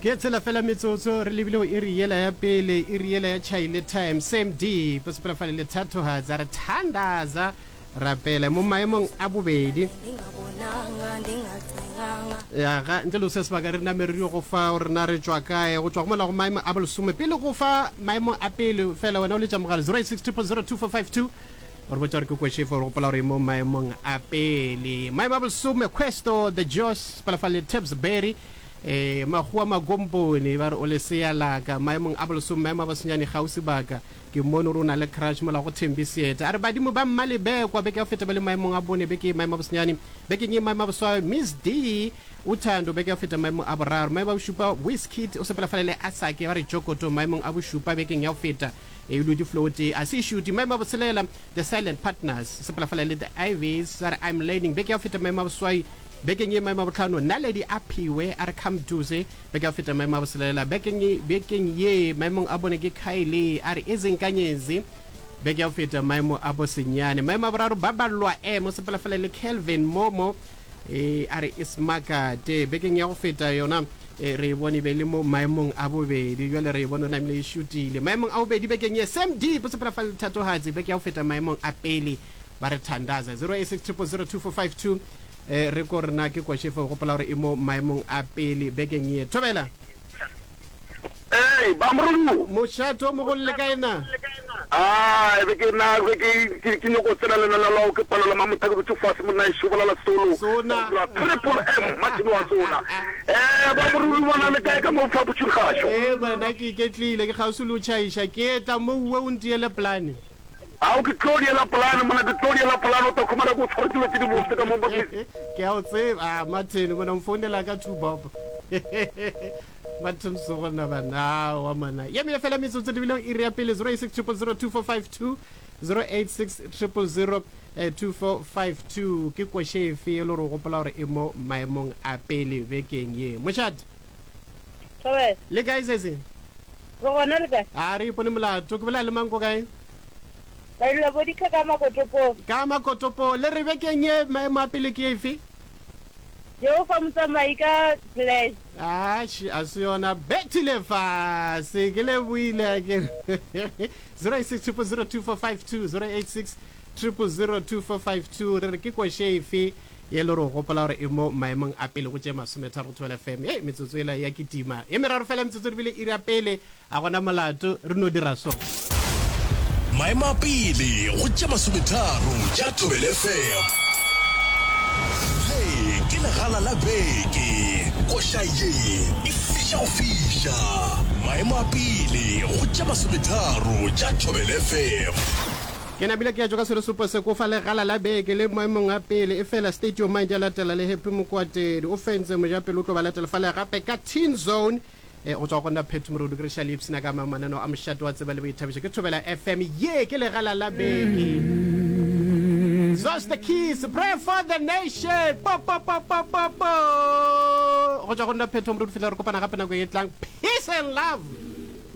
Ke tsela fela metsotso re lebile go iri yela ya pele, iri yela ya Chaile time, same deep, sepela fale le thatohatsa, re thandaza, rapela mo maemong a bobedi. Ya ga ntle le go se sebaka re name re dio go fa gore na re tšwa kae, go tšwa go mola go maemo a bolesome pele go fa maemo a pele fela wena o letša mogala 086 000 2452 O re botša gore ke kwešefo, re gopola gore e mo maemong a pele. Maemo a bolesome, Questo, The Jos, Palafale, Tabs Berry, eh, Makgowa Magompone, ba re o lesea laka. Maemong a bolesome, maemo a bosenyane, Gausi Baka, ke mmone gore o na le crush mola go Thembi Seeta. A re badimo ba Mmalebekwa, beke ya go feta ba le maemong a bone, beke ye maemo a bosenyane, bekeng ye maemo a boswayo, Miss D, Uthando, beke ya go feta maemo a boraro. Maemo a bošupa, Wizkid, o sepela fale le Asake, ba re Jokoto, maemong a bošupa, bekeng ya go feta. E lodi flow tee a se šuti. Maemo a botshelela, The Silent Partners, sepela fela le The Ivies, sa re I'm Learning. Beke ya go feta maemo a boswai. Bekeng ye maemo a bohlano, Naledi Aphiwe a re Come Duze. Beke ya go feta maemo a botshelela. Bekeng, bekeng ye maemong a bone ke Kylie a re Izinkanyezi. Beke ya go feta maemo a bosenyane. Maemo a boraro, Baballwa M, o sepela fela le Kelvin Momo. E, a re Ismakate. Bekeng ya go feta yona e, re e bone e be le mo maemong a bobedi. Bjale re e bone o namile e šutile. Maemong a bobedi bekeng ye, Sam Deep o sepela fa le Thatohatsi. Beke ya go feta maemong a pele ba re thandaza. 086 000 2452 e, re ko rena ke košefe o gopola gore e mo maemong a pele bekeng ye. Thobela. Ee, ba Morongwa. Mošate o mogolo le kae na? A be ke na be ke ke ke nyoko tsena lena la lao ke palela mamotha ke dutše fase monna e šobola la solo. Sona. Triple M Martin wa sona. Eh ba Morongwa bona le kae ka mo fa botšhikgašo? Ee bana ke iketlile ke kgauswi le o tšhaiša ke etla mo uwe o ntiele polane. Ao ke tlo diela polane monna ke tlo diela polane o tla khumana ke o tshware dilo tše di bose ka mo Ke a o tseba ah Martin mona o mfounela ka two bob. Martin Sogona bana aowa mona ye meye fela metsotso lebile iri ya pele 086 000 2452 086 000 2452 ke koše efe e le gore o gopola gore e mo maemong a pele bekeng ye mošate Thobela. Le kae sese? Re gona le kae? A re ipone molato. Ke bolela le mang ko kae? Bailwa Bodikha ka Makotopong. Ka Makotopong. Le re bekeng ye maemo a pele ke efe? Jehofa Motsamai ka Bless. Atšhe, a se yona. Bethile fase. Ke lebohile akere. 086 000 2452 086 000 2452 re re ke koše efe ye le gore o gopola gore e mo maemong a pele go tše masometharo go Thobela FM. Hei, metsotso yela ya kitima. Ye meraro fela metsotso re bile iri ya pele, a gona molato, re no dira so. Maemo a pele go tše masometharo tša Thobela FM. Le ke legala la beke. Koša ye e fiša go fiša. Maemo a pele go tše masometharo tša Thobela FM. Ke napile ke ya tšwa ka seresupo se ko fa legala la beke le maemong a pele efela State Your Mind ya latela le Happy Mokwatedi o fentse mojapele o tlo ba latela fale gape ka Teen Zone e go tswa go nna Phetho Morodu ke re šale ipshina ka mang mananeo a mošate wa tseba le boithabišo ke Thobela FM ye ke legala la beke Zos the keys pray for the nation po po po po po po go tswa go nna Phetho Morodu fihla re kopana gape nako e tlang peace and love.